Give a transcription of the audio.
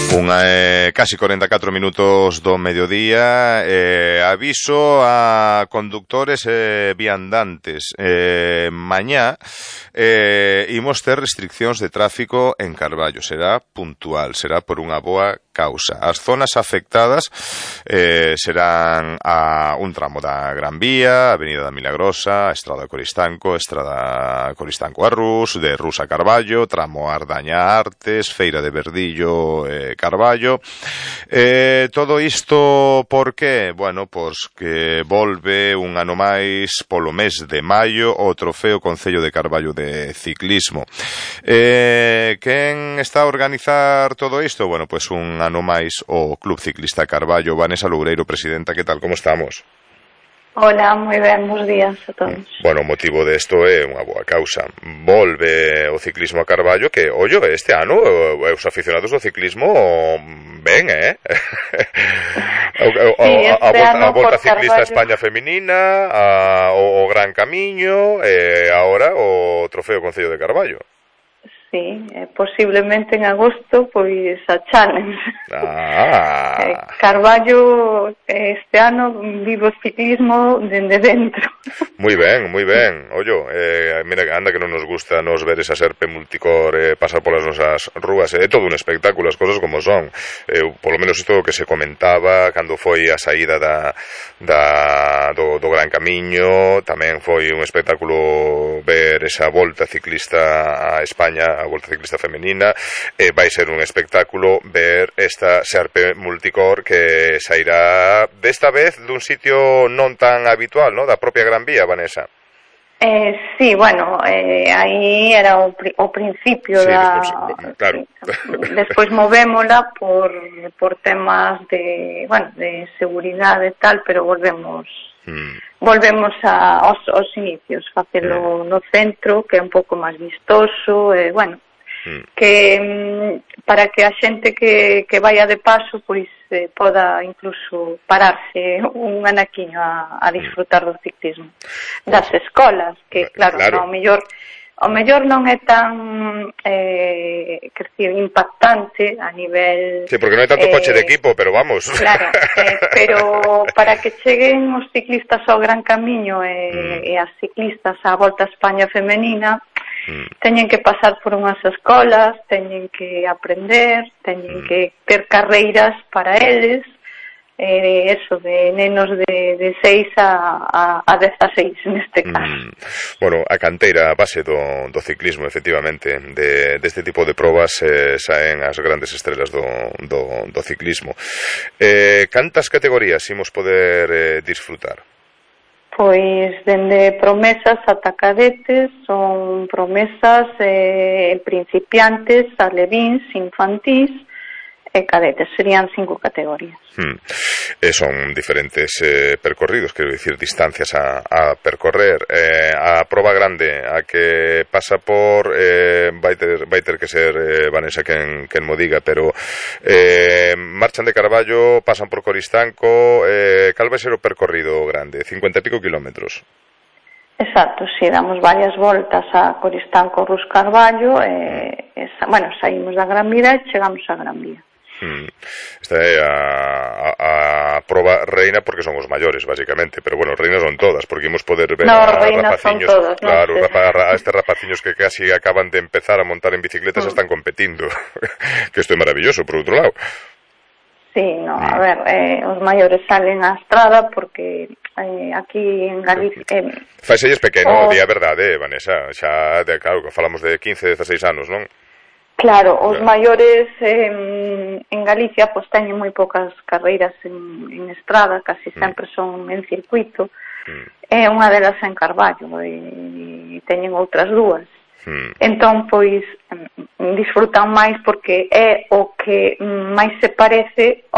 Casi 44 minutos do mediodía. Aviso a conductores e viandantes. Mañá imos ter restriccións de tráfico en Carballo. Será puntual, será por unha boa causa. As zonas afectadas serán a un tramo da Gran Vía, Avenida da Milagrosa, Estrada Coristanco, Estrada Coristanco a Rus, de Rus a Carballo, tramo Ardaña Artes, Feira de Verdillo, Carballo. Todo isto por que? Bueno, pois que volve un ano máis polo mes de maio o Trofeo Concello de Carballo de ciclismo. Quen está a organizar todo isto? Bueno, pois un ano máis o Club Ciclista Carballo. Vanessa Loureiro, presidenta, que tal, como estamos? Hola, moi ben, bons días a todos. Bueno, o motivo desto é unha boa causa. Volve o ciclismo a Carballo, que, ollo, este ano os aficionados do ciclismo ben, a Volta Ciclista a España Feminina, o Gran Camiño, e agora o Trofeo Concello de Carballo. Sí, posiblemente en agosto, pois a Challenge. Carballo este ano vive o ciclismo dende dentro. Moi ben, moi ben. Ollo, mira, anda que non nos gusta nos ver esa serpe multicor pasar polas nosas rúas. É todo un espectáculo, as cosas como son. Polo menos isto que se comentaba cando foi a saída do Gran Camiño. Tamén foi un espectáculo ver esa volta ciclista a España, a Volta Ciclista Femenina. Vai ser un espectáculo ver esta serpe multicor que sairá desta vez dun sitio non tan habitual, ¿no? Da propia Gran Vía, Vanessa. Sí, bueno, aí era o principio sí, claro. Despois movémola por temas de seguridade e tal, pero volvemos aos inicios, facelo no centro, que é un pouco máis vistoso, que para que a xente que vaya de paso pois poda incluso pararse un anaquiño a disfrutar do ciclismo. Das escolas, que claro. O mellor non é tan impactante a nivel... Sí, porque non hai tanto coche de equipo, pero vamos. Claro, pero para que cheguen os ciclistas ao Gran Camiño e as ciclistas á Volta a España Femenina, teñen que pasar por unhas escolas, teñen que aprender, teñen que ter carreiras para eles, eso, de nenos de 6 a 16 neste caso. Bueno, a canteira, a base do ciclismo, efectivamente, deste tipo de probas saen as grandes estrelas do ciclismo. Cantas categorías imos poder disfrutar? Pois dende promesas ata cadetes, son promesas principiantes, alevíns, infantís e cadetes, serían 5 categorías. Son diferentes percorridos, quero dicir, distancias a percorrer. A proba grande, a que pasa por vai ter que ser Vanessa quen mo diga, pero marchan de Carballo, pasan por Coristanco, cal vai ser o percorrido grande? 50 e pico kilómetros. Exacto, si damos varias voltas a Coristanco, Rus, Carballo, saímos da Gran Vía e chegamos a Gran Vía. Esta é a proba reina, porque son os maiores, basicamente, pero bueno, reinas son todas, porque imos poder ver a rapaciños, claro, a estes rapaciños que casi acaban de empezar a montar en bicicletas, están competindo, que isto é maravilloso, por outro lado. Sí, no, a ver, os maiores salen á estrada porque aquí en Galicia... Faiselles pequeno, di a verdade, Vanessa, xa, claro, que falamos de 15, 16 anos, non? Claro, os maiores en Galicia pois teñen moi poucas carreiras en estrada, casi sempre son en circuito, e unha delas en Carballo, e teñen outras dúas. Entón, pois, disfrutan máis porque é o que máis se parece